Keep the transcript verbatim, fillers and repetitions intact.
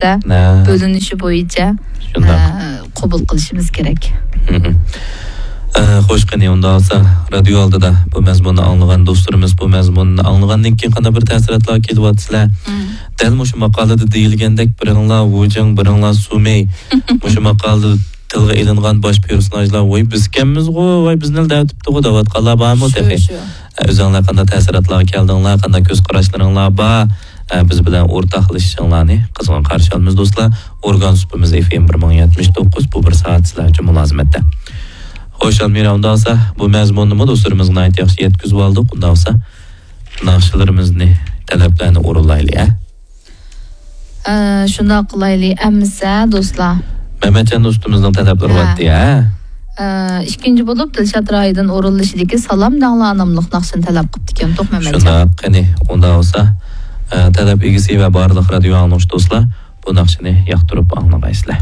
ھە. بۆلۈنۈشى بويىچە، شۇنداق. ئە، قوبۇل قىلىشىمىز كېرەك. مم. ئە، خوش، قېنى، ئۇنداق بولسا، رادىيو ئالدىدا بۇ مەزمۇننى ئاڭلىغان دوستلىرىمىز، بۇ مەزمۇننى ئاڭلىغاندىن كېيىن قانداق بىر تەسىراتلارغا كېلىۋاتىسىلەر؟ مم. دەل مۇشۇ ماقالىدە دېيىلگەندەك، بىرىڭلار ۋۇجېڭ، بىرىڭلار سۇمېي، مۇشۇ ماقالىدە تىلغا ئېلىنغان باش پېرسوناژلار، ۋاي، بىزكەنمىزغۇ، ۋاي، بىزنىلا دەۋېتىپتىغۇ دەۋاتقانلار بارمۇ شۇ، تېخى؟ شۇ. ئۆزۈڭلار قانداق تەسىراتلارغا كەلدىڭلار، قانداق كۆز قاراشلىرىڭلار بار، ئە، بىز بىلەن ئورتاقلىشىشىڭلارنى قىزغىن قارشى ئالىمىز، دوستلار. ئورگان سۇپىمىز ئېف ئېم بىر مىڭ يەتمىش توققۇز، بۇ بىر سائەت سىلەر ئۈچۈن مۇلازىمەتتە. خوش، ئالمىرا، ئۇنداق بولسا، بۇ مەزمۇننىمۇ دوستلىرىمىزغا ناھايىتى ياخشى يەتكۈزۈپ ئالدۇق. ئۇنداق بولسا، ناخشىلىرىمىزنى، تەلەپلەرنى ئورۇنلايلى، ھە؟ ئە، شۇنداق قىلايلى، ئەمىسە، دوستلار. مەمەتجان دوستىمىزنىڭ تەلەپلىرى ھە. بارتى، ھە؟ ئە، ئىككىنچى بولۇپ، دىلشات رايىدىن ئورۇنلىشىدىكى سالام دەڭلار ناملىق ناخشىنى تەلەپ قىپتىكەن، توق مەمەتجان. شۇنداق، قېنى، ئۇنداق بولسا، ئە، تەلەپ ئىگىسى ۋە بارلىق رادىيو ئاڭلىغۇچى دوستلار، بۇ ناخشىنى ياقتۇرۇپ ئاڭلىغايسىلەر.